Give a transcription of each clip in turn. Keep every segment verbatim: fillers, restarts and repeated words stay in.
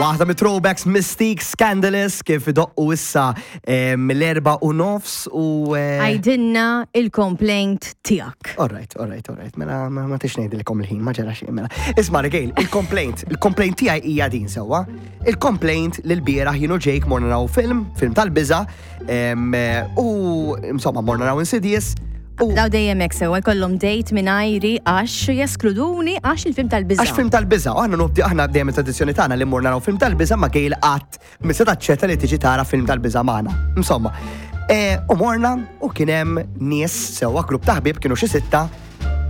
Waħda mit-throwbacks, Mis-Teeq, Scandalous, kif idoqqu issa mill-erba u nofs u. eh, Għidilna il-complaint tiegħek. Alright, alright, alright. Mela, ma ma tix ngħidilkom il-ħin, ma ġara xejn, mela. Isma' Gail, il-complaint, il-complaint tiegħi hija din sewwa. Il-complaint li l-bieraħ jien u Jake morna naraw film, film tal-biża, em, u insomma morna naraw Insidious. U Daw dejjem hekk sewwa jkollhom date mingħajri għax jeskluduni għax il-film tal-biża. Għax film tal-biża, u aħna nobdi aħna dejjem tradizzjoni tagħna li morna naraw film tal-biża ma Gail qatt mi se taċċetta li tiġi tara film tal-biża magħna. Insomma, e, u morna u kien hemm nies sewwa, grupp ta' ħbieb, kienu xi sitta.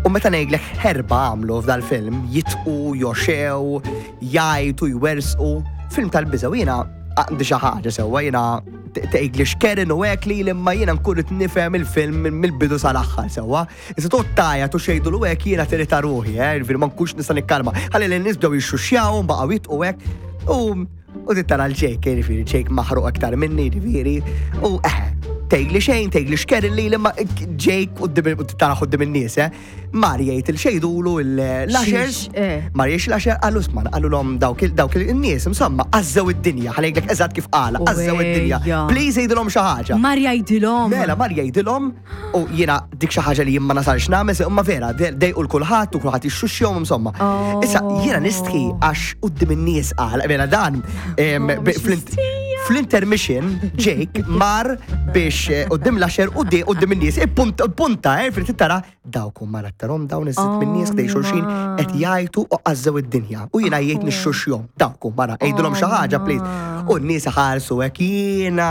U meta ngħidlek ħerba għamlu f'dal-film, jidħku, joxew, jgħajtu, jwersqu, film tal-biża, u jiena għandi xi ħaġa sewwa, jiena tgħidli xkerin u hekk li imma jiena nkun qed nifhem il-film mill-bidu sal-aħħar sewwa. Issa toqgħod tgħajjat u xejdu l hekk jiena tirrita ruħi, eh, jiġifieri ma nkunx nista' nikkalma. Ħalli l-nies bdew jixxuxjaw, baqgħu jidħku hekk. U u tara l-Jake, jiġifieri Jake maħruq aktar minni, jiġifieri. U eh, tgħidli xejn, tgħidli xkerin li imma Jake u tara quddiem in-nies, eh. Mar jgħid il-xejdulu l-ushers, Xiex, eh. mar jgħid l-usher, qallu isma', qallu l dawk dawk il-nies, insomma, għazzew id-dinja, ħa ngħidlek eżatt kif qala, għazzew id-dinja. Ejja. Please jgħidilhom xi ħaġa. Mar jgħidilhom. Mela, mar jgħidilhom u jiena dik xi ħaġa li jien ma nasalx nagħmel, imma vera, dejqu l-kulħadd u kulħadd jixxuxjhom insomma. Oh. Issa jiena nistħi għax quddiem in-nies qal, mela dan em, Oh, bi- mhux flint- mistija. fl-intermission Jake mar biex eh, quddiem l-usher u di quddiem in-nies ippunta punta eh fil tara dawk huma rattarhom dawn iż-żid Oh, min-nies ħdej xulxin ma. qed jgħajtu u għażżew id-dinja. U jiena jgħid nixxuxjhom dawk huma mara għidulhom xi ħaġa, please. ma. U n-nies ħarsu hekk, jiena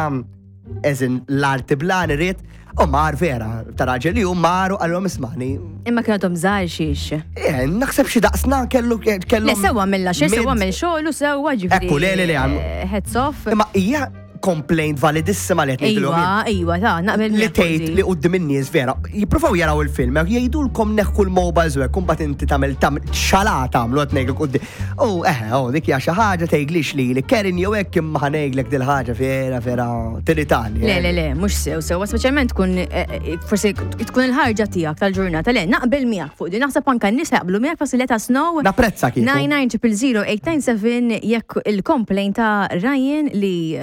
eżin l-arti blan irrid u mar vera ta' raġel li hu mar u qalhom ismani. Imma kienu għadhom żgħar xiex. Eh, naħseb xi daqsna kellu kellu. Le sewwa mill-għaxer, sewwa mill xogħol u sewwa ġifieri. Ekku, le, le, le, għam- eh, Heads off. Imma hija complaint validissima li qed ngħidilhom jien. Iwa, iwa, ta' naqbel Li miegħek tgħid Odi. li quddiem in-nies vera, jippruvaw jaraw il-film, jgħidulkom neħħu l-mobiles u hekk, imbagħad inti tagħmel tagħmel xala tagħmlu qed ngħidlek quddiem. U eħe, oh, dik hija xi ħaġa tgħidlix li li Karen jew hekk imma ħa ngħidlek dil-ħaġa vera vera tiritani. Le, eh. le, le, mhux sew, sew, speċjalment tkun, eh, eh, forsi tkun il-ħarġa tiegħek tal-ġurnata. Le, naqbel miegħek fuq di, naħseb anka n-nies jaqblu miegħek, forsi let us know. Napprezza kieku. nine nine zero zero eight nine seven jekk il-complaint ta' Ryan li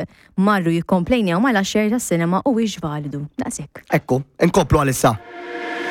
marru jikkomplejnjaw mal-usher tas-cinema u wiex validu. Daqshekk. Ekku, inkomplu għalissa.